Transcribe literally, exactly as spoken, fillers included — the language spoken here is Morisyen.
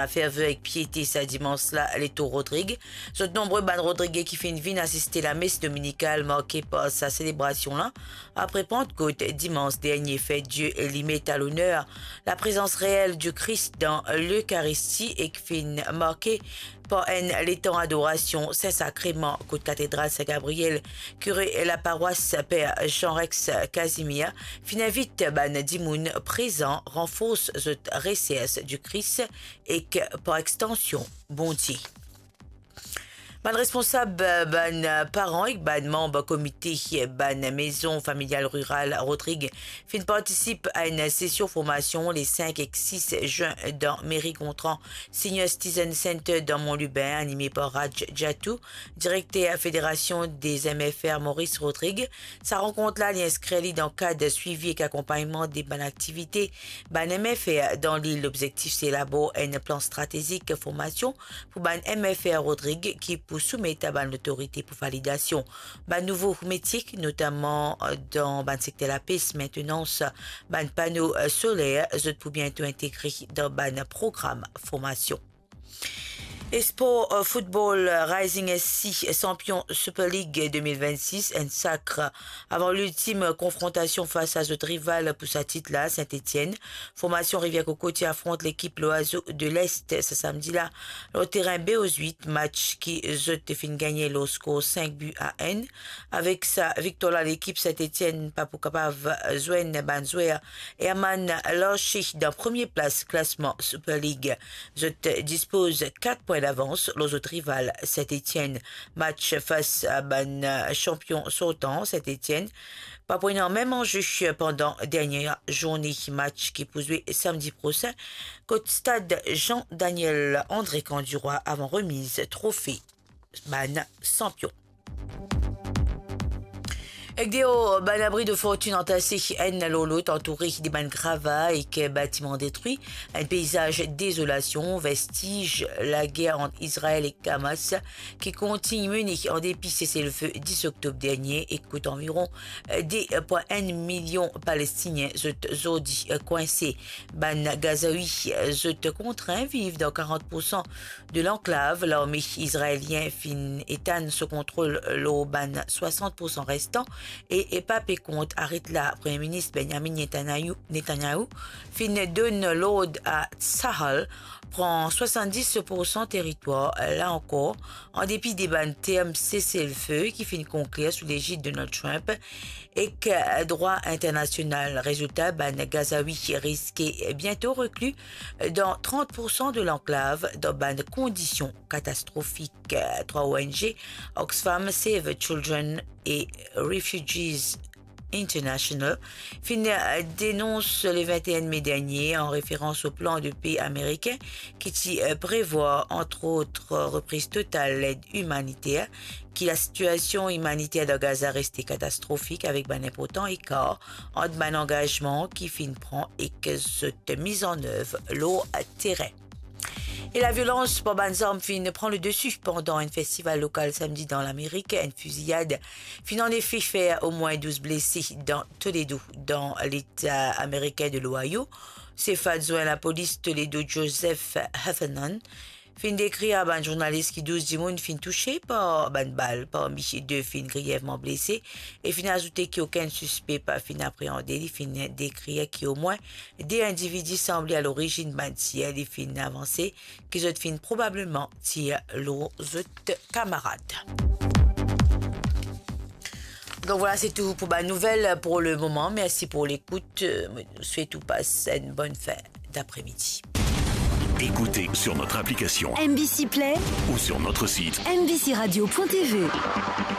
laferveur ek piete sa dimans la, Letour Rodrig. Zot nonbre bann Rodrige ki finn vinn asiste lames dominikal marke par sa selebrasion la, apre Pantkot, dimans dernie, fer Die li met a loner laprezans reel di Kris dan Lekaristi ek finn marke par enn letan adorasion Sin Sakreman kot Katedral Sin Gabriel. Kire laparwas, Per Jean Rex Casimir, finn invit bann dimoun prezan ranfors zot resers di Kris ek, par extansion, Bondie. Bann responsab, bann paran ek bann manb komite bann mezon familial riral Rodrig finn partisip a enn sesion formasion le sink ek sis zin dan Meri Gontran Senior Citizen Center dan Mont Lubin, anime par Raj Jatou, direkter Federasion des M F R Maurice Rodrig. Sa rankont la, li inskrir li dan kad swivi ek akonpagnman de bann aktivite bann M F R dan lil. Lobzektif se elabor enn plan stratezik formasion pou bann M F R Rodrig ki pou soumet a bann lotorite pou validasion. Bann nouvo metie, notaman dan bann sekter lapes, maintenans bann pano soler, zot pou biento integre dan bann program formasion. E spor, eh, football, eh, Rising S C, sanpion Super League de mil vennsis, enn sakre avan liltim konfrontasion fas a zot rival pou sa tit la, Saint-Étienne. Formasion Rivière Coco ti afront lekip Loiseau de l'Est sa samdi la, lor terin B O huit, match ki zot finn gagne lor skor sink bi a enn. Avek sa viktwar la, lekip Saint-Étienne pa pou kapav zwenn bann zwer Herman Larcher dan premie plas klasman Super League. Zot dispoz kat pwin davans lor zot rival Saint-Étienne. Match fas a bann sanpion sortan Saint-Étienne pa pou ena mem anze pandan dernie zourne. Match ki pou zwe samdi prosin kot stad Jean Daniel André Canduroy avan remiz trofe bann sanpion. Ek deor, bann abri de fortinn antase enn lor lot, antoure de bann grava ek batiman detri, enn peizaz dezolasion, vestiz lager ant Izrael ek Hamas ki kontign mene andepi seselfe dis oktob dernie e kot anviron de pwin enn milion Palestinien zot zordi kwinse. Bann Gazawi zot kontrin viv dan karant poursan de lanklav. Larme izraelien finn etann so kontrol lor bann swasant poursan restan e, e pa pe kont aret la. Premie Minis Benjamin Netanyahu, Netanyahu finn donn lord a Tsahal pran swasanndis poursan teritwar, la ankor, andepi de bann term seselfe ki finn konklir sou legid Donald Trump ek drwa internasional. Rezilta, bann Gazawi riske biento rekli dan trant poursan de lanklav dan bann kondision katastrofik. Trwa O N G, Oxfam, Save Children e Refugees International, finn denons le vennteen me dernie, an referans o plan de pe amerikin ki ti prevwar, antrot, repriz total led imaniter, ki lasitiasion imaniter dan Gaza reste katastrofik, avek bann inportan ekar ant bann angazman ki finn pran ek zot miz an nev lor terin. E laviolans par bann zarm finn pran le desi pandan enn festival lokal samdi dan Lamerik. Enn fiziyad finn anefe fer omwin douz blese dan Toledo, dan leta amerikin de l'Ohio. Sef adwin lapolis Toledo, Joseph Heffernan, finn dekrir a bann zournalis ki douz dimoun finn touse par bann bal, parmi de finn grievman blese, e finn azoute ki okenn sispe pa finn apreande. Li finn dekrir ki omwin de individi sanble a lorizinn bann tir. Li finn avanse ki zot finn probableman tir lor zot kamarad. Donk vwala, se tou pou bann nouvel pou le moman. Mersi pou lekout. Mo swet ou pas enn bonn fin d'après-midi. Écoutez sur notre application M B C Play ou sur notre site M B C radio point T V.